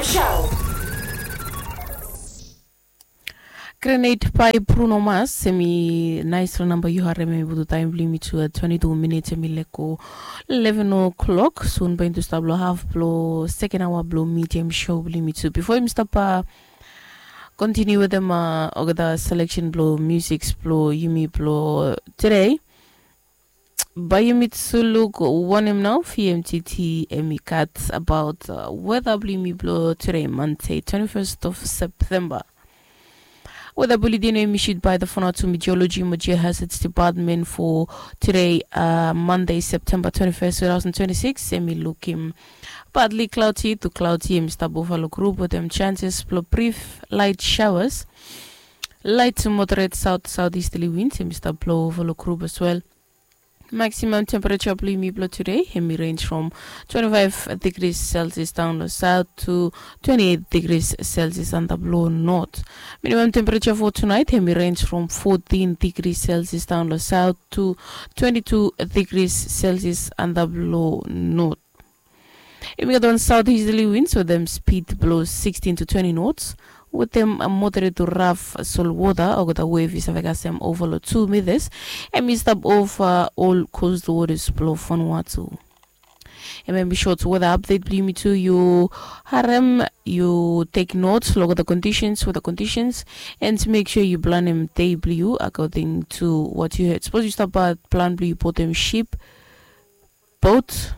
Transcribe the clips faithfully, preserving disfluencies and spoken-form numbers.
Show. Grenade by Bruno Mars, hemi naesfala namba yu harem, hemi putum taem blong yumi tu twenti tu minits, hemi lego eleven o'clock. Sun bae yumi tu stap lo haf blo seken aoa blo medium show blong yumi tu. Bifo yumi stap kontiniu wetem olgeta seleksen blo musik blo yumi blo tede, bae yumi tu luk wanem nao V M T T hemi gat abaot weta blo yumi blo tede, Mande, twenti fes of Septemba. Weta buletin hemi issued by the Vanuatu Meteorology mo Geohazards Department for tede, Mande, Septemba twenti fes, two thousand twenty-six. Hemi lukim partly cloudy to cloudy, hemi stap ova lo grup wetem chances blo brief light showers. Light to moderate south southeasterly winds hemi stap blo ova lo grup as well. Maximum temperature blo yumi blo tede hemi range from twenty-five degrees Celsius daon lo south to twenty-eight degrees Celsius antap lo north. Minimum temperature for tonight hemi range from fourteen degrees Celsius daon lo south to twenty-two degrees Celsius antap lo north. Yumi gat wan southeasterly winds wetem speed blo sixteen to twenty knots, wetem moderate to rough sol wota olgeta wave i save kasem ova lo two meters. Hemi stap ova ol coastal waters blo Vanuatu. Hemia hemi short weather update blo yumi tu. Yu harem, yu tek notes lo olgeta conditions, weather conditions, and make sure yu planem dei blo yu according to what you heard. Sapos yu stap plan blo yu boatem ship, boat,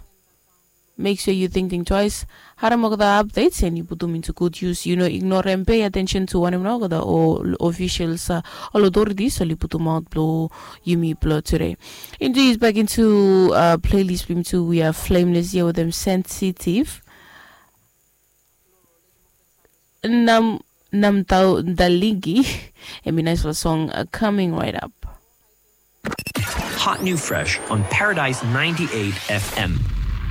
make sure yu tingting twice. Harem olgeta updates and yu putum into good use. Yu no ignorem, pay attention to wanem nao olgeta officials, ol authorities oli putumaot blo yumi blo tede. Into is back into playlist blo yumi tu. We are Flameless ia wetem Sensitive. Nam Namtau Dalingi. Hemi naesfala song coming right up. Hot new fresh on Paradise ninety-eight F M.